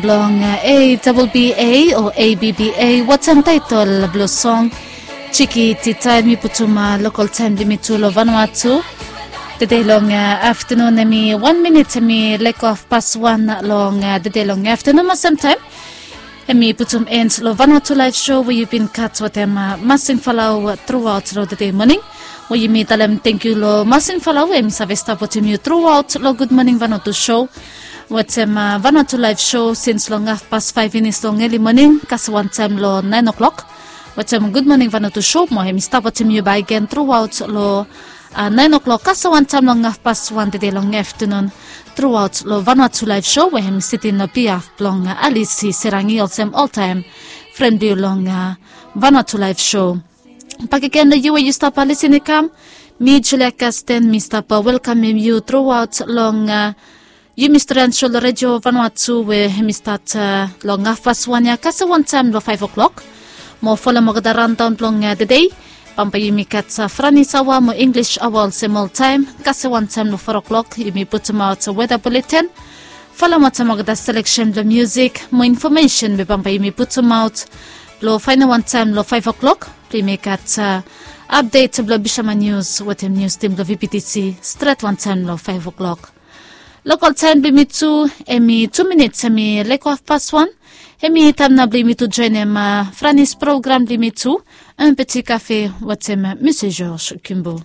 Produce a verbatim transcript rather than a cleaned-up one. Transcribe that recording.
Blong A Double B A o A B B A, watem taetol blong song Chiki Tita, mi putum lokol taem blong yumi tu long Vanuatu. Tede long aftenun hemi wan minit hemi leko hafpas wan long tede long aftenun. Mo samtaem hemi putum en long Vanuatu Laev Sho we yu bin gat wetem Masin Falau truaot long tede moning. We yumi talem tangkiu long Masin Falau we hemi save stap wetem yu truaot long Gud Moning Vanuatu Sho wetem Vanuatu Laev Sho sins long hafpas faef finis long eli moning kasem wantaem long naen oklok. Wetem Gud Moning Vanuatu Sho mo hemi stap wetem yu bakegen truaot long naen oklok kasem wantaem long hafpas wan tede long aftenun. Truaot long Vanuatu Laev Sho we hemi sitin long bihaf blong Alisi Serangi olsem oltaem fren blong yu long Vanuatu Laev Sho. Bakegen long yu we yu stap lisin i kam, mi Julia Kasten mi stap welkamem yu truaot long yumi stren sho long redio Vanuatu we hemi stat long hafpas wan ya kasem wantaem long faef oklok. Mo folem olgeta raondaon blong tede, bambae yumi gat Franis aoa mo Inglis aoa olsem oltaem kasem wantaem long fo oklok. Yumi putumaot weta buleten, folem wetem olgeta seleksen blong miusik mo infomesen we bambae yumi putumaot blong faenem wantaem long faef oklok. Blong yumi gat apdet blong Bishaman Nius wetem nius tim blong V B T C stret wantaem long faef oklok. Lokol taem blong yumi tu hemi tu minit hemi leko hafpas wan. Hemi taem nao blong yumi tu joenem Franis program blong yumi tu, Un Petit Cafe wetem Mese George Kimbo.